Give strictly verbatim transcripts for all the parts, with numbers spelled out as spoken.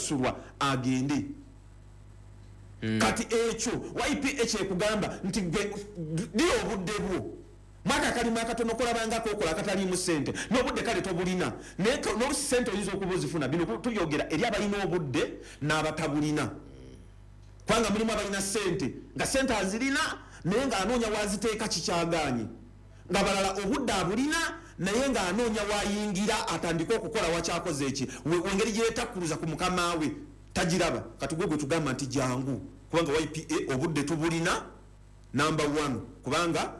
okusasulwa agende. Mm. Kati ekyo Y P A kyekugamba nti dira obudde bwo mwaka kalima akatono kolabangako okola akataliimu ssente n'obudde kale tobulina, naye n'olusi ssente oyinza okuba ozifuna. Bino tubyogera eri abalina obudde n'abatabulina, kubanga mulimu abalina ssente nga ssente azirina naye ng'anoonya waziteeka kikyagaanye, nga balala obudde abulina naye ng'anoonya wayingira atandike okukola wakyakoze eki engeri gye yeetakkuluza ku mukama we tagiraba. Kati gwe gwe tugamba nti jangu, kubanga Y P A obudde tubulina number one, kubanga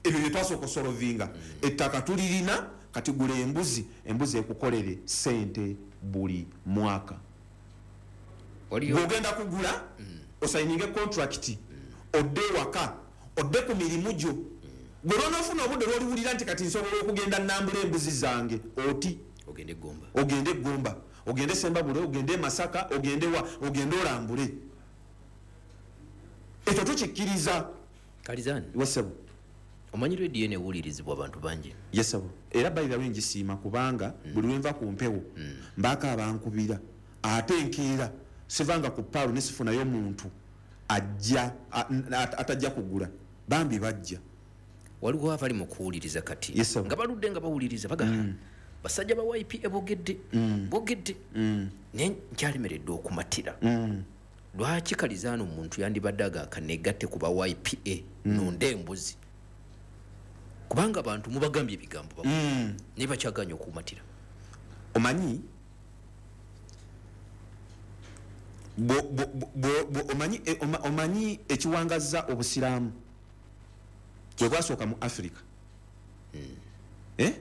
ebyo bye twasooka osolovinga ettaka tulirina. Kati gula embuzi, embuzi ekukolere ssente buli mwaka. Bw'ogenda kugula osayininge contract, odde ewaka, odde ku mirimu gyo. Gwe lw'onoofuna obudde lw'oliwulira nti kati nsobola okugenda nnambula embuzi zange, oti ogende Gomba, ogende Gomba, ogende Sembabule, ogende Masaka, ogende wa, ogende olambule. Ekyo tukikkiriza. Kalizani wesebo, omanyi rediyo eno ewulirizibwa abantu bangi. Yesebo, era by the way ngisiima kubanga mm. buli lwenva ku mpewo mm. mbaako abankubira, ate enkeera sivanga ku paalo ne sifunayo muntu ajja atajja kugula, bambi bajja. Waliwo abali mu kuwuliriza kati nga baludde nga bawuliriza bagamba mm. basajja ba Y P A bogedde mm. bogedde mm. naye nkyalemeredde okumatira. mm. Lwaki Kalizano omuntu yandibadde agaakanegatte ku ba Y P A mm. nonde embuzi, kubanga abantu mubagambye ebigambo mm. naye bakyaganya okumatira. Omanyi bo, bo, bo, bo, omanyi, omanyi ekiwangaza obusiraamu bwe bwasooka mu Africa. mm. eh? mm.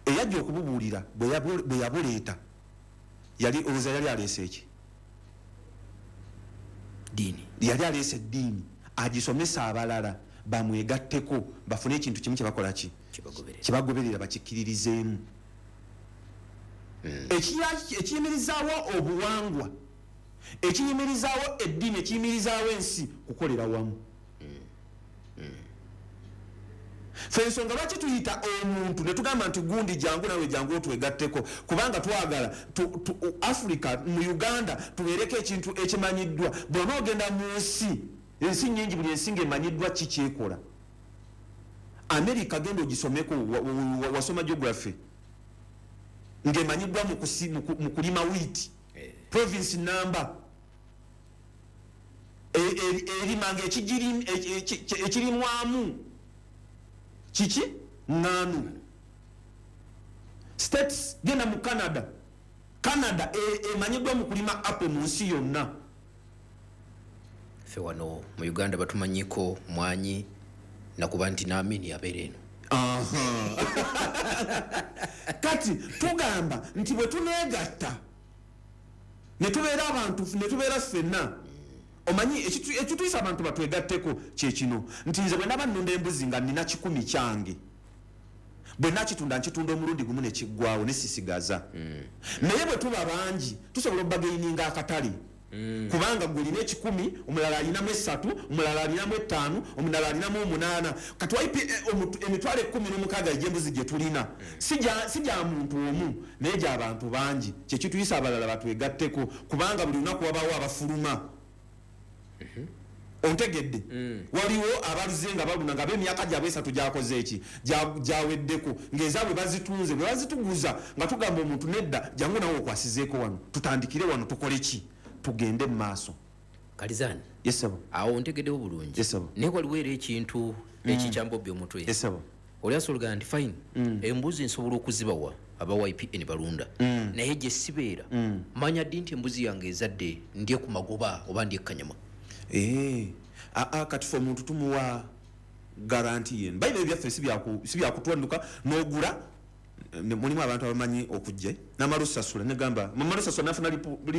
Eyajja okububuulira bwe yabuleeta yali olowooza yali aleese eki ddiini, yali aleese eddiini agisomesa abalala bamwegatteko bafune ekintu kimu kyebakola ki kyebagoberera bakikkiririzeemu. mm. Ekiyimirizaawo obuwangwa, ekiyimirizaawo eddiini, ekiyimirizaawo ensi kukolera wamu. mm. mm. Ffe ensonga lwaki tuyita omuntu ne tugamba nti gundi jangu nawe jangu otwegatteko, kubanga twagala Africa mu Uganda tubeereko ekintu ekimanyiddwa. Bw'onoogenda mu nsi, ensi nnyingi, buli ensi ng'emanyiddwa ki kyekola. America genda ogisomeko, wasoma geography, ng'emanyiddwa mu kulima wheat, province number erima ng'ekirimwamu kiki ŋŋaano. States genda mu Canada, Canada emanyiddwa mu kulima apple mu nsi yonna. Ffe wano mu Uganda batumanyiko mwanyi nakuba nti naamini abeera eno. Kati tugamba nti bwe tuneegatta ne tubeera abantu ne tubeera ffenna, omanyi ekituyisa abantu batwegatteko kye kino nti nze bwe naba nnunda embuzi nga nnina kikumi kyange, bwe nakitunda nkitunda omulundi gumu ne kiggwawo ne sisigaza. Naye bwe tuba bangi tusobola okubagaininga akatale, kubanga gwe olina ekikumi, omulala alinamu esatu, omulala alinamu ettaano, omulala alinamu omunaana. Kati Y P A emitwalo ekkumi n'omukaaga egy'embuzi gye tulina si gya muntu omu naye gy'abantu bangi. Kye kituyisa abalala batwegatteko, kubanga buli lunaku wabaawo abafuluma. Ontegedde? Waliwo abaluze nga baluna nga b'emyaka gyabwe esatu gyakoze eki gyaweddeko, ng'ezaabwe bazitunze, bwe bazituguza nga tugamba omuntu nedda jangu nawe okwasizeeko wano, tutandikire wano tukole ki, tugende mu maaso. Kalizani, yesebo, awo ntegeddewo bulungi. Yesebo. Naye waliwo era ekintu ekikyambobya omutwe. Yesebo. Oli asobola nti fine, embuzi nsobola okuzibawa aba Y P A ne balunda, naye gye sibeera manya ddi nti embuzi yange ezadde ndye ku magoba oba ndye kanyama. Eh, aa kati fe omuntu tumuwa garanti yenu. By the way, byaffe si byakutwanduka n'ogula. Mulimu abantu abamanyi okujja namala osasula negamba mamala osasula nafuna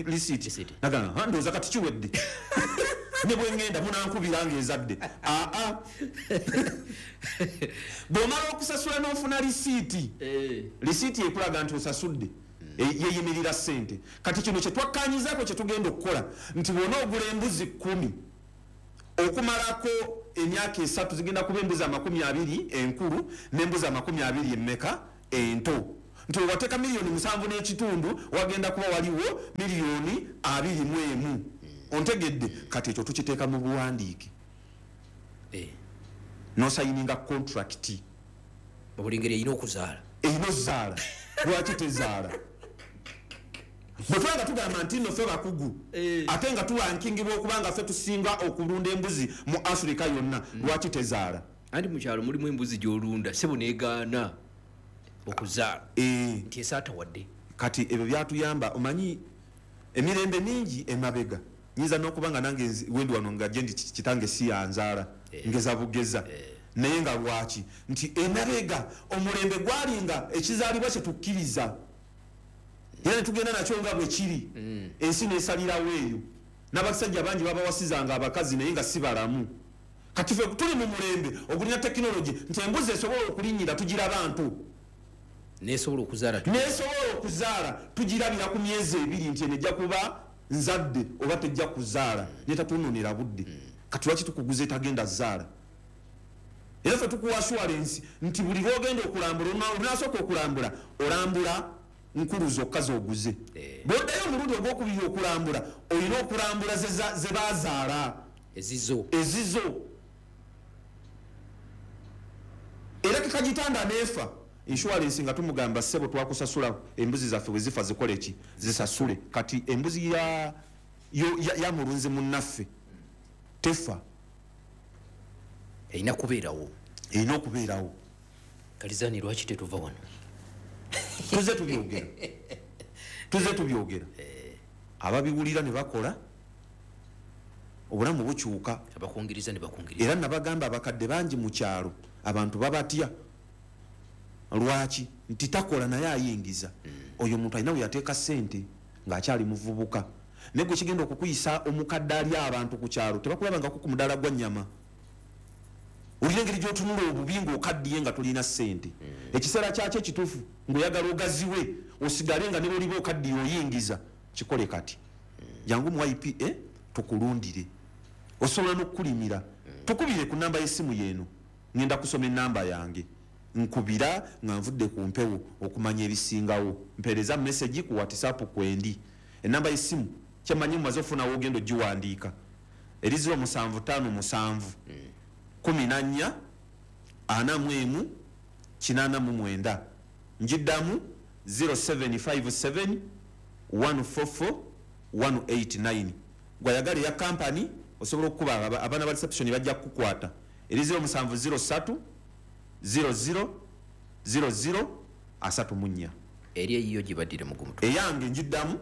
lisiti nagamba ndowooza kati kiwedde ne bwe ngenda munankubira ng'ezadde. Aa bw'omala okusasula n'ofuna lisiiti, lisiiti ekulaga nti osasudde, yeeyimirira ssente. Kati kino kye twakkaanyizaako kye tugenda okukola nti bw'ona ogula embuzi kkumi okumalako emyaka esatu zigenda kuba embuzi amakumi abiri enkulu n'embuzi amakumi abiri emmeka ento. Nti wateeka miliyoni musanvu n'ekitundu wagenda kuba waliwo miliyoni abiri mu emu. Ontegedde? Kati ekyo tukiteeka mu buwandiike. Eh. N'osayininga contract. Buli ngeri erina okuzaala. Erina ozaala. Lwaki tezaala? Bwe tuba nga tugamba nti nno ffe bakugu, ate nga tulankingibwa okuba nga ffe tusinga okulunda embuzi mu Afrika yonna, lwaki tezaala? Anti mu kyalo mulimu embuzi gy'olunda sebo n'egaana okuzaala. Eh. Nti esaata wadde. Kati ebyo byatuyamba. Omanyi emirembe mingi emabega nyinza n'okuba nga nange wendi wano nga gye ndi kitange si yanzaala, ngeza bugeza. Naye nga lwaki nti emabega omulembe gwalinga ekizaalibwa kye tukkiriza, era ne tugenda nakyo nga bwe kiri, ensi n'esalirawo eyo. N'abasajja bangi babawasizanga abakazi naye nga si balamu. Kati ffe tuli mu mulembe ogulina tekinologi nti embuzi esobola okulinnyira tugiraba nto, nesobola okuzaala, nesobola okuzaala tugirabira ku myezi ebiri nti eno ejja kuba nzadde oba tejja kuzaala, netatunonera budde. Kati lwaki tukuguza etagenda zaala? Era ffe tukuwa assurance nti buli lw'ogenda okulambula, olunasooka okulambula olambula nkulu zokka z'oguze. Bw'oddayo omulundi ogwokubiri okulambula olina okulambula ze bazaala ezizo ezizo. Era kekagitanda neefa insurance nga tumugamba ssebo twakusasula embuzi zaffe bwe zifa zikole ki? Zisasule. Kati embuzi ya, ya, ya mulunzi munnaffe tefa, erina kubeerawo, erina okubeerawo. Kalizani lwaki tetuva wano? Tuze tubyogera, tuze tubyogera. Ababiwulira ne bakola obulamu bukyuka, abakungiriza ne bakungiriza. Era nabagamba abakadde bangi mu kyalo abantu babatya. Lwaki? Nti takola naye ayingiza. Oyo omuntu alina we yateeka ssente ng'akyali muvubuka, naye gwe kigenda okukuyisa omukadde ali abantu ku kyalo tebakulabangako ku mudaala gwa nnyama. Olina engeri gy'otunula obubi ng'okaddiye nga tolina ssente. Ekiseera kyakyo ekituufu ng'oyagala ogaziwe osigale nga ne bw'oliba okaddiye oyingiza, kikole kati. Jangu mu Y P A tukulundire, osobola n'okukulimira. Tukubire ku namba y'essimu yeeno, ngenda kusoma ennamba yange, nkubira nga nvudde ku mpewo okumanya ebisingawo. Mpeereza message ku WhatsApp kwendi. Ennamba y'essimu kyemmanyi mumaze ofunawo ogenda ogiwandiika, eri zero musanvu ttaano musanvu kumi na nnya ana mu emu kinaana mu mwenda. Njiddamu zero seven five seven one four four one eight nine. Gwayagala eya kampani osobola okukuba abaana ba reception bajja kukukwata, eri zero musanvu zero ssatu zero zero zero zero asatu mu nnya. Eri eyiyo gibaddire mu gumutwe. Eyange njiddamu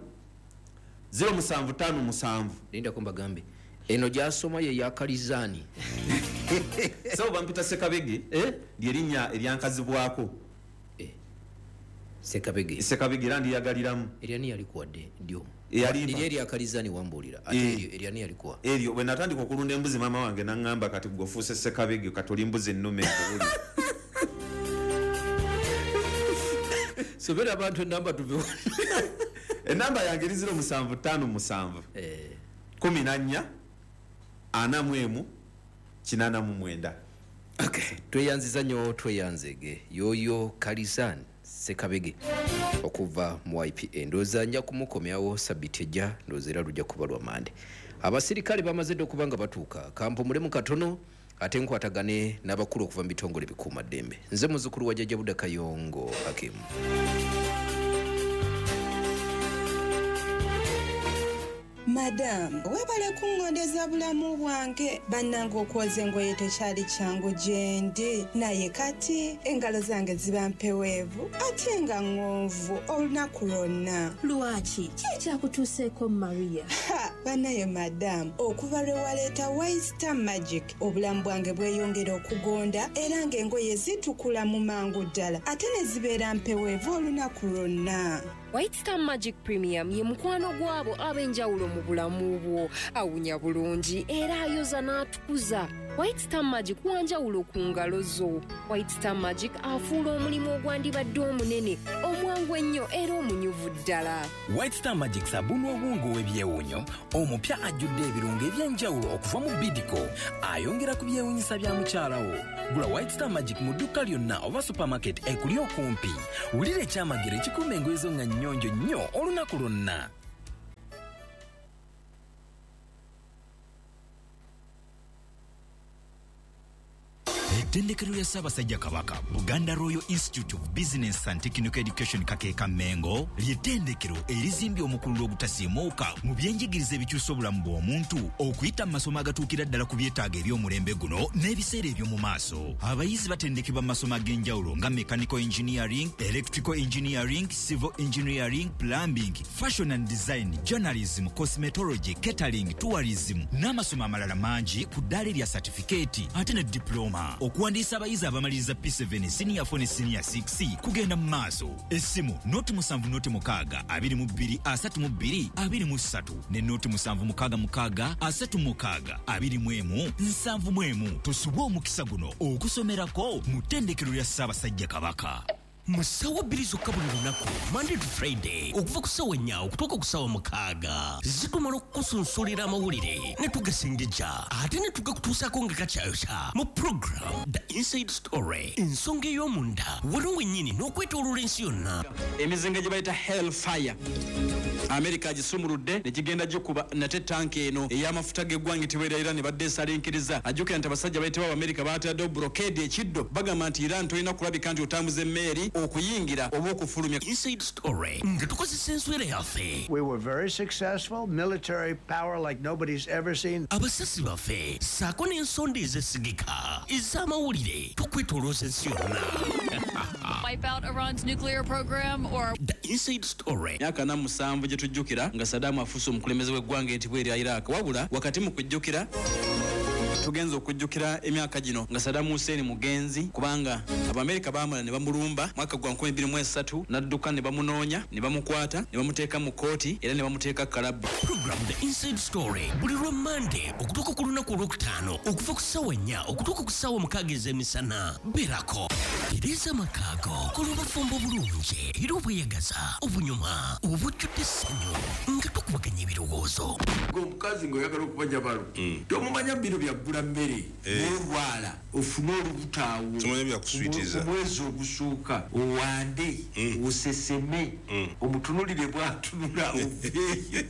zero musanvu ttaano musanvu. Lindako mbagambe eno gyasoma ye ya Kalizani. So bampita Sekabege, eh? Lyerinnya eryankazibwako. Eh. Sekabege. Sekabege era ndiyagaliramu. Eryani yalikuwadde ddyo? Eyalimpa. Liri erya Kalizani wambuulira. Ate eryo eryani yalikuwa? Eryo bwe natandika okulunda embuzi maama wange n'aŋŋamba kati gwe ofuuse Sekabege kati oli mbuzi ennume nkuwulira. Sobera abantu enamba tuve. Enamba yange eri zero musanvu ttaano musanvu. Eh. Kumi na nnya ana mu emu kinaana mu mwenda. Okay, tweyanziza nnyo tweyanzege yoyo Kalizani Sekabege okuva mu Y P A. Ndowooza nja kumukomyawo sabiti ejja, ndowooza era lujja kuba lwa Mande. Abasirikale bamaze dda okuba nga batuuka, kampumulemu katono ate nkwatagane n'abakulu okuva mu bitongole bikuumaddembe. Nze muzzukulu wa Jjajja Buda Kayongo Hakimu. Madam, webale kungondeza bulamu bwange. Bannange okwoza engoye tekyali kyangu gye ndi, naye kati engalo zange ziba mpeweevu ate nga ŋŋonvu olunaku lwonna. Lwaki? Ki ekyakutuuseeko Maria? Ha, bannaye madamu, okuva lwe waleeta White Star Magic obulamu bwange bweyongera okugonda era ng'engoye zitukula mu mangu ddala ate ne zibeera mpeweevu olunaku lwonna. White Star Magic Premium ye mukwano gwabo ab'enjawulo mu bulamu bwo. Awunya bulungi era ayoza n'atukuza. White Star Magic wanjawulo ku ngalo zo. White Star Magic afuula omulimu ogwandibadde omunene omwangu Omwangu ennyo era omunyuvu ddala. White Star Magic sabuni obwongo w'ebyewuunyo omupya ajjudde ebirungo eby'enjawulo okuva mu Bidco ayongera ku byewuunyisa bya mukyala wo. Gula White Star Magic mu dduuka lyonna oba supermarket ekuli okumpi. Wulira ekyamagero ekikuuma engoye zo nga nnyonjo nnyo olunaku lwonna. Ettendekero lya Ssaabasajja Kabaka, Buganda Royal Institute of Business and Technical Education Kakeeka Mmengo, ly'ettendekero erizimbye omukululo ogutasiimuuka mu byenjigiriza ebikyusa obulamu bw'omuntu okuyita mu masomo agatuukira ddala ku byetaago eby'omulembe guno n'ebiseera eby'omu maaso. Abayizi batendekebwa mu masomo ag'enjawulo nga mechanical engineering, electrical engineering, civil engineering, plumbing, fashion and design, journalism, cosmetology, catering, tourism n'amasomo amalala mangi ku ddaala erya certificate ate ne diploma. Okuwandiisa abayizi abamaliriza P seven, senior four ne senior six kugenda mu maaso. Essimu noti musanvu noti mukaaga abiri mu bbiri asatu mu bbiri abiri mu ssatu ne noti musanvu mukaaga mukaaga asatu mukaaga abiri mu emu nsanvu mu emu. Tosubwa omukisa guno okusomerako mu ttendekero lya Ssaabasajja Kabaka. Mu ssaawa bbiri zokka buli lunaku, Monday to Friday, okuva ku ssaawa nnya okutuuka ku ssaawa mukaaga, zitumala okukusunsulira amawulire ne tugasengejja ate ne tugakutuusaako nga gakyayokya mu program The Inside Story, ensonga ey'omunda wano wennyini n'okwetooloola ensi yonna. Emizinga gye bayita Hellfire Amerika agisumuludde ne gigenda gikuba nate tanka eno ey'amafuta g'eggwanga etibwera Iran badde esalinkiriza. Ajjukira nti abasajja bayitibwa Abamerika baataddewo blockade ekiddo, bagamba nti Iran tolina kulabika nti otambuza emmeeri okuyingira oba okufulumya. Inside Story nga tukozesa enswera yaffe. We were very successful, military power like nobody's ever seen. Abasasi baffe ssaako n'ensonda ezesigika ez'amawulire tukwetoolooza ensi yonna. Wipe out Iran's nuclear program or The Inside Story. Myaka na musanvu gye tujjukira nga Saddam afuuse omukulembeze w'eggwanga etibwa erya Iraq. Wabula wakati mu kujjukira tugenza okujjukira emyaka gino nga Saddam Hussein mugenzi, kubanga Abamerika baamala ne bamulumba mwaka gwa nkumi bbiri mu esatu, n'adduka ne bamunoonya ne bamukwata ne bamuteeka mu kkooti era ne bamuteeka kalabba. Program The Inside Story buli lwa Monday okutuuka ku lunaku olwokutaano okuva ku ssaawa nnya okutuuka ku ssaawa mukaaga ez'emisana. Beerako tereeza amakaago, kola obufumbo obulungi era obweyagaza, obunyuma, obujjudde essanyu nga tukubaganya ebirowoozo. Omukazi ng'oyagala okuba jabalo tomumanya bino byaggula mmere n'olwala ofune olubuto awo omwezi ogusooka owande oseseme omutunulire bw'atunula oveeyo.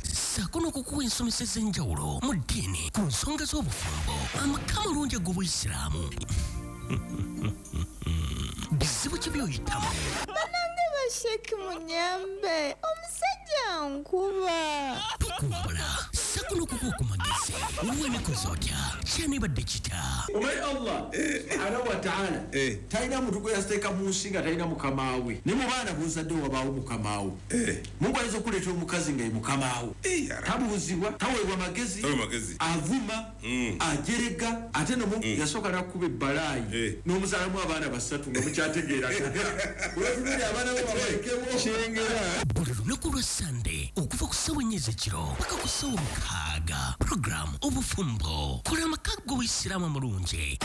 Ssaako n'okukuwa ensomesa ez'enjawulo mu ddiini ku nsonga z'obufumbo, amaka amalungi ag'obuyisiraamu. Bizibu ki by'oyitamu? Bannange basheki munyambe, omusajja nkuba. Tukuwabula ssaako n'okukuwa ku magezi. Weekoze otya? Kyanibadde kita? Omanyi Allah subhanahu wa ta'ala talina muntu gwe yateeka mu nsi nga talina mukama we. Ne mu baana b'ozadde wabaawo mukama wo. Mungu ayinza okuleetera omukazi nga ye mukama wo. Tabuuzibwa, taweebwa magezi, avuma, ajerega, ate no yasooka n'akuba ebbalaayi n'omuzaalamu abaana basatu nga mukyategeeragana. Weetunulira abaana bo babalekewo. Kyengera. Buli lunaku lwa Sande okuva ku ssaawa ennya ez'ekiro paka ku ssaawa mukaaga. Program Obufumbo, kola amaka g'obuyisiraamu amalungi.